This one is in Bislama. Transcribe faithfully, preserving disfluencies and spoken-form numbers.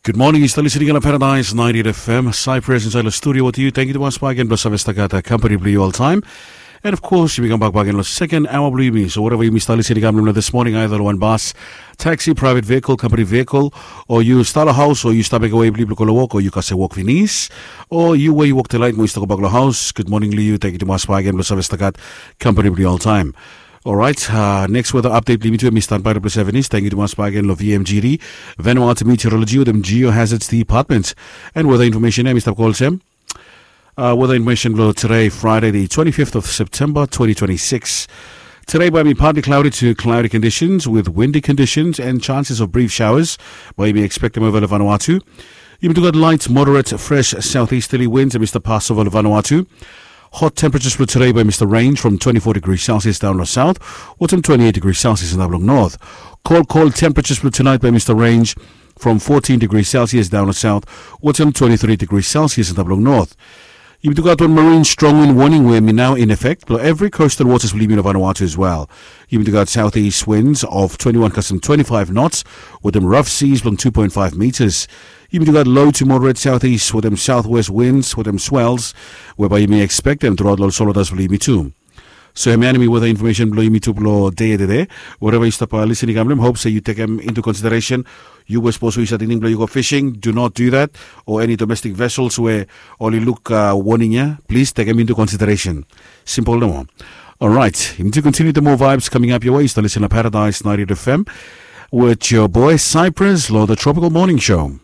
Gud moning, yu stap lisening long Paradise ninety-eight F M, Cyprus insait long studio wetem yu. Tangkiu tumas bak gen blong save stap gat kampani blong yu oltaem. And of course, yumi kambak bak gen long second hour blong yumi. So whatever yumi stap lisening long this morning, either long wan bas, taxi, private vehicle, company vehicle, o yu stap long haus, o yu stap mekem wei blong yu blong go long wok, o yu kasem wok finis, o yu we yu wok tonight mo yu stap go bak long haus, gud moning long yu. Tangkiu tumas bak gen blong save stap gat kampani blong yu oltaem. Alright, uh, next weather update blong yumi tu, yumi standby long Sevenis. Tangkiu tumas bak gen long V M G D, Vanuatu Meteorology wetem Geohazards Department. And weather information, em i stap go olsem. Uh, weather information blong today, Friday, the twenty-fifth of September, twenty twenty-six. Today, bae hemi partly cloudy to cloudy conditions with windy conditions and chances of brief showers. Bae hemi expectem ova long Vanuatu. Yumi tu gat light, moderate, fresh southeasterly winds, hemi stap pas ova long Vanuatu. Hot temperatures blong today bae hemi stap range from twenty-four degrees Celsius down long south, wetem twenty-eight degrees Celsius antap long north. Cold, cold temperatures blong tonight bae hemi stap range from fourteen degrees Celsius down long south, wetem twenty-three degrees Celsius antap long north. Yumi tu gat wan marine strong wind warning we hemi nao in effect blong evri coastal waters blong yumi long Vanuatu as well. Yumi tu gat southeast winds of twenty-one kasem twenty-five knots, wetem rough seas blong two point five meters. Yumi tu gat low to moderate southeast wetem southwest winds wetem swells, we bae yumi expectem truaot long ol solotas blong yumi tu. So hemia hemi weather information blong yumi tu blong dei ya tede. Whatever yu stap, uh, lisening long hem, hope se yu tekem into consideration. Yu we sapos we yu stap tingting blong yu go fishing, do not do that. O eni domestic vessels we oli luk, uh, warning ya, please tekem into consideration. Simple nomo. Alright, yumi tu continue the more vibes coming up your way. Yu stap lisening long Paradise ninety-eight F M with your boy Cyprus long the Tropical Morning Show.